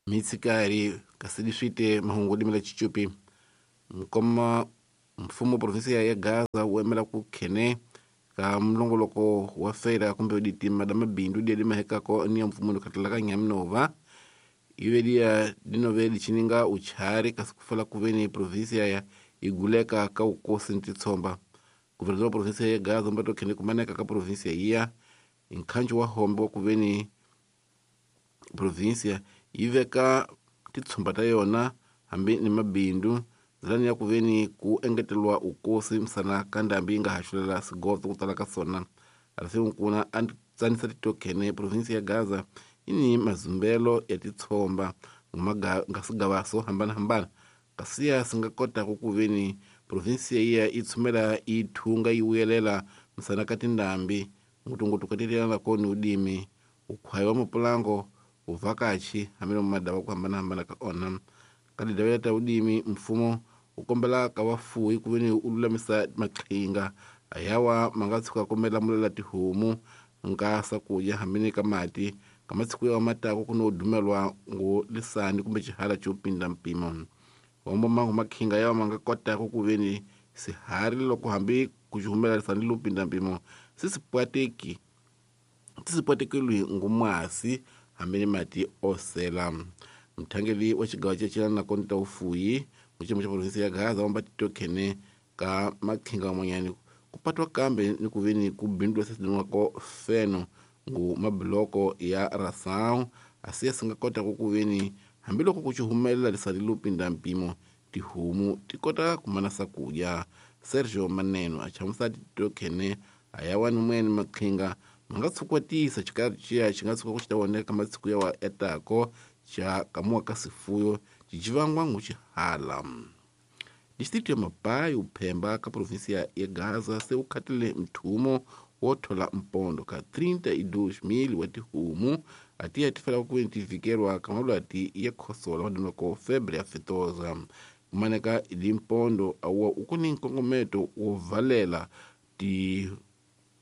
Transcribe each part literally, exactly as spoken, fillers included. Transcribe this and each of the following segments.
Mitsikari kasi leswite mahungu limela chichupi nkoma mfumo provinsia ya Gaza wu emela ku khene ka mulongoloko wa feira kumbe ditima da mabindu dia dimahekako ni ya mfumo lokatala ka Nyaminova ivedia dinove dichininga uchari kasi kufala kuveni provinsia ya iguleka ka ukosi ntitsomba guvernador wa provinsia ya Gaza mbato khene kumaneka ka provinsia iya nkhanjo wa hombe wa kuveni provinsia yiveka titsomba ta yona hambi ni mabindu zilani ya kuveni ku engetelwa ukosi msana ka ndambi yi nga haxulela sigoto ku tala ka sona alase nkuna a tsanisa titokhene provinsia ya Gaza yi ni mazumbelo ya titsomba nga swigava swo hambanahambana kasi ya swi nga kotaka ku veni provinsia iya yi tshumela yi thunga yi vuyelela msana ka tindambi ngutunguthu ka titelana ni udimi ukhwayi wa mapulango uvhakachi hambi no madava ku hambanahambana ka ona ka tidavela ta udimi mfumo wu kombela ka vafuwi ku veni u lulamisa maqhinga ayawa ma nga tshuka kombela mulela tihomu nka swakudya hambi ni ka mati ka masiku ya matako ku no dumelwa ngo lisani kumbe xihala xo pinda mpimo hombo mangu maqhinga yawa ma nga kotaka ku veni sihari loko hambi ku xi humela lisani lo pinda mpimo si si pwateki si si pwatekeliwi ngumasi hambi ni mati osela mthangeli wa xigawa cecilana na ta ufuyi muxiyimo xa provinsi ya Gaza wamba titokhene ka maqhinga man'wanyani ku patwa kambe ni ku veni ku bindula sesilinwako feno ngu mabiloko ya rasau asiya si nga kotaka ku veni hambiloko ku xi humelela lisali lo pinda mpimo tihomu ti kota ku mana swakudya Sergio Maneno a chamusa titokhene ayawani mwene maqhinga ma nga tshukwatisa xikarhi xiya xi nga tshuka ku xi ta voneka ka masiku yawa etako xa kamuwa ka sifuyo xicivangwa nguxihala distrito ya Mapai uphemba ka provinsia ya Gaza se wu khatile mthumo wo thola mpondo ka trinta e dois mil wa tihomu ati ya tifela ku veni ti vhikelwa ka malwati ya khosola madinwako febre aftosa kumaneka limpondo awa u ku ni nkongometo wo valela ti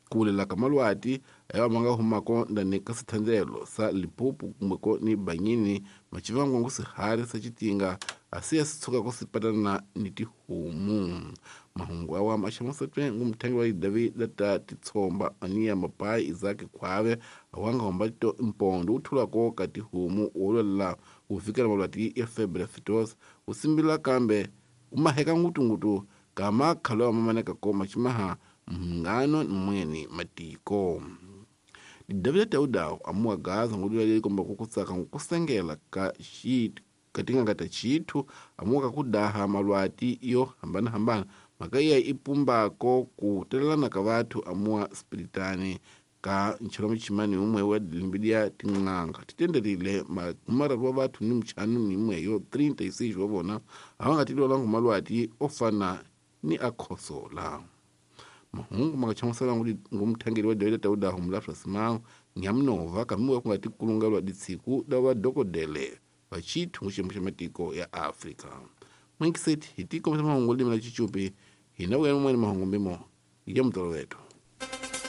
kulela ka malwati ayawa ma nga humako ndani ka swithandzelo sa Limpopo kumbeko ni Banyini macivangwa ngu sihari sa xitinga asiya si tshukako si patana ni tihomu mahungu awa ma xamusatwe ngu muthangi wa lidavi lata titsomba aniya Mapai Isaac Khwave awanga homba to mpondo wu thulako ka tihomu wo lwelela wu vikela malwati ya febre aftosa wu simbila kambe wu maheka ngutungutu ka makhalo ya mamaneka ko maximaha mhungano ni mwene matiko Davida Taudawo amuwa Gaza ngudula leli komba kukutsaka nkusengela ka xitu katinganga ta chithu amuwa ka kudaha malwati yo hambanahambana mhaka iya i pumbako ku telelana ka vathu amuwa spiritani ka nchelo muchimani umwe wa dilimbi ya tin'anga titenderile makumararu wa vathu ni muchanu ni imwe yo trinta e seis wa vona a va nga tilwela malwati o fana ni a khosola mahungu ma nga chamusela ngu muthangeli wa Davida Taudaho mulafra Simao Nyamunova kamiwa ku nga tikulungelwa ditsiku da vadokodele va chithu xiyimo xa matiko ya Afrika mwinkiseti hi tikombisa mahungu limi la chichupi hina vuya mun'wani mahungu mbimo ya mutoloveto.